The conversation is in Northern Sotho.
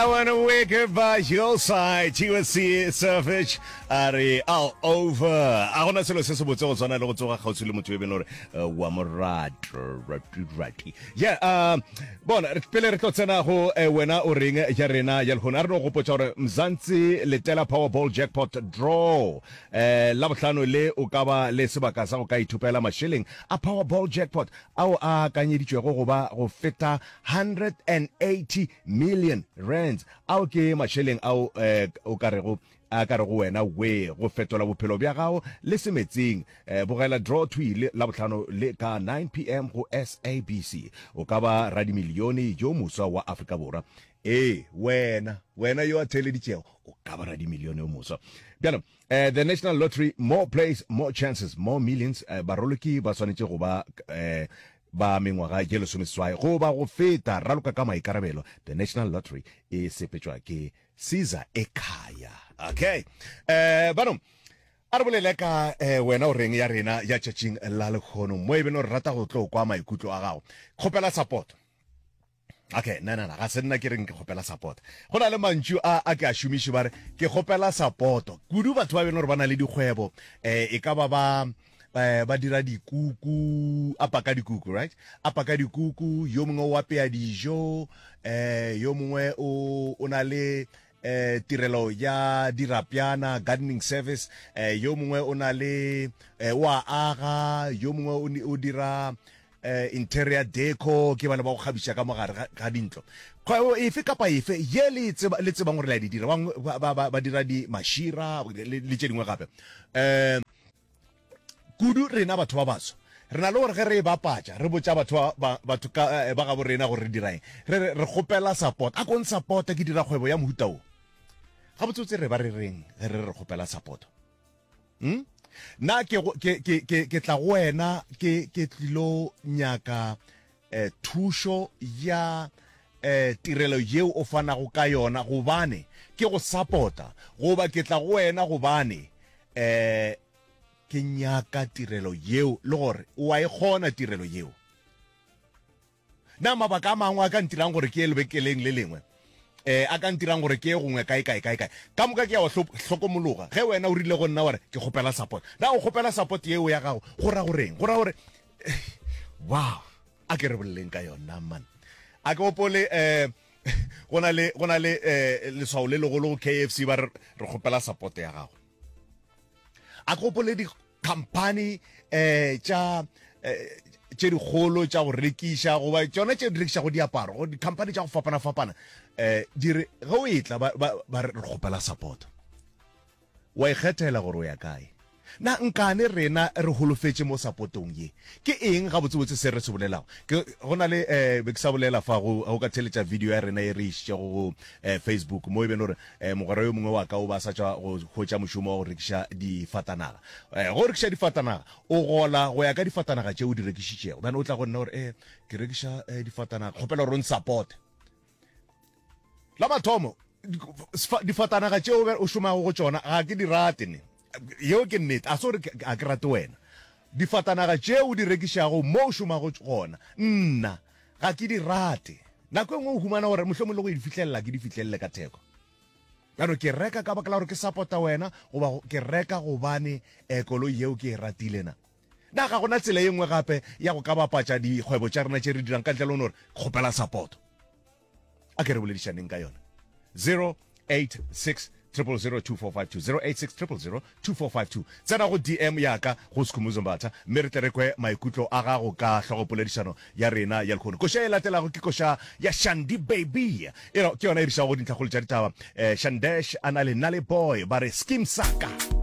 wanna wake up by your side. TSC Savage a re all over. A gona selo se se botse go tshwana le go tsoga kgauswi le motho e beng gore eh, wa morato rati rati. Yeah, uh, bona re- pele re tlo tsena go eh, wena o reng ya rena ya lehono a re no gopotša gore Mzansi letela Powerball jackpot draw eh la bohlano le o ka ba le sebaka sa go ka ithopela mašeleng a Powerball jackpot ao a akanyeditšwego go ba go feta 180 million rands. Ao ke mašeleng ao eh, o ka rego a ka rego wena we go fetola bophelo bja gago le semetseng. Eh, bogela draw thwi le Labohlano le ka 9 pm go SABC. O ka ba radimilione yo moswa wa Afrika Borwa. Ee, wena, wena yo a theeleditšego, o ka ba radimilione yo moswa. Bjalo, eh, the National Lottery, more plays, more chances, more millions. Eh, baroloki ba swanetše go ba eh, ba mengwaga ye lesomeseswai goba go feta. Raloka ka maikarabelo. The National Lottery e sepetšwa ke Caesar Ekhaya. Okay. Eh, bano, a re bolele ka eh, wena o reng ya rena ya tšatšing la lekgono mo e beno re rata go tlo kwa maikutlo a gago. Kgopela support. Okay, na na na, ga se nna ke reng ke kgopela support. Go na le mantšu a a ke a šomiše ba re ke kgopela support. Kudu batho ba beno gore ba na le dikgwebo, eh e ka ba ba eh, ba dira dikuku, a paka dikuku, right? A paka dikuku, yo mongwe o apea dijo, eh yo mongwe o o na le eh tirelo ya dirapjana, gardening service, eh yo mongwe o na le eh, o a aga, yo mongwe o dira eh, interior deco ke bana ba go kgabiša ka mogare ga, ga dintlo. Kgwebo efe kapa efe ye le e tseba, le tsebang gore le a di dira, bangwe ba, ba, ba, ba dira di mašira le, le tše dingwe gape. Eh, kudu rena batho ba baso re na le gore ge re e bapatša re botša batho ba, ba, batho ka, eh, ba gabo rena gore re dira eng, re re re kgopela support, a ko nsupporte ke dira kgwebo ya mohuta wo. Gabotsebotse re ba re reng ge re re kgopela support? Hmm? Na ke, ke, ke, ke, ke tla go wena ke, ke tlilo nyaka eh, thušo ya eh, tirelo yeo o fanago ka yona gobane ke go sapota, goba ke tla go wena gobane eh, ke nyaka tirelo yeo le gore o a e kgona tirelo yeo? Na mabaka a mangwe a ka ntirang gore ke ye lebekeleng le lengwe, eh, a ka ntirang gore ke ye gongwe kae, kae, kae, kae? Ka moka ke a wa hlokomologa. Ge wena o rile go nna wa re, Ke kgopela support. Na o kgopela support yeo ya gago go ra goreng? Go ra gore, wow, a ke re boleleng ka yona, man. A ke gopole, eh, go na le, go na le, eh, leswao le legolo go KFC ba re, re kgopela support ya gago. A ke gopole di Khamphani eh, tša eh, tše dikgolo tša go rekiša goba tšona tše di rekišago diaparo go dikhamphani tša go fapana-fapana eh, di re ge o etla ba, ba, ba re kgopela support. Wa ikgethela gore o ya kae. Na nkane rena re holofetše mo supportong ye? Ke eng gabotsebotse se re se bolelago? Ke, go na le eh, be ke sa bolela fa go, go ka theletša video ya rena ye re išitšego go eh, Facebook mo e beng gore eh, mogwera yo mongwe wa ka o ba sa tšwa go hwetša mošomo wa go rekiša difatanaga. Eh, go rekiša difatanaga o gola go ya ka difatanaga tše o di rekišitšego. Bjale o tla go nna gore eh, ke rekiša eh, difatanaga, kgopela gore o nsupporte. La mathomo difatanaga tšeo o šomago go tšona ga ke di rate ne. Yeo ke nnete, a se gore ga ke rate wena. Difatanaga tšeo o di rekišago mo o šomago gona, nna ga ke di rate. Nako e nngwe o humana gore mohlomong le go di fihlelela ke di fihlelele ka theko. Bjalo ke reka ka baka la gore ke support-a wena goba ke reka gobane eh, koloi yeo ke e ratile na. Na ga gona tsela ye nngwe gape ya go ka bapatša dikgwebo tša rena tše re dirang ka ntle le go no re kgopela support? A ke re boledišaneng ka yona. 086 000 2452 086 000 2452. Tsena go DM ya ka go Skhumbuzo Mbatha mme re tle re kwe maikutlo a gago ka hlogopoledišano ya rena ya lehono. Koša e latelago ke koša ya Shandy Baby. E ke yona e re išago go dintlhakgolo tša ditaba. Eh, Shandesh a na le Nale Boy ba re Skeem Saka.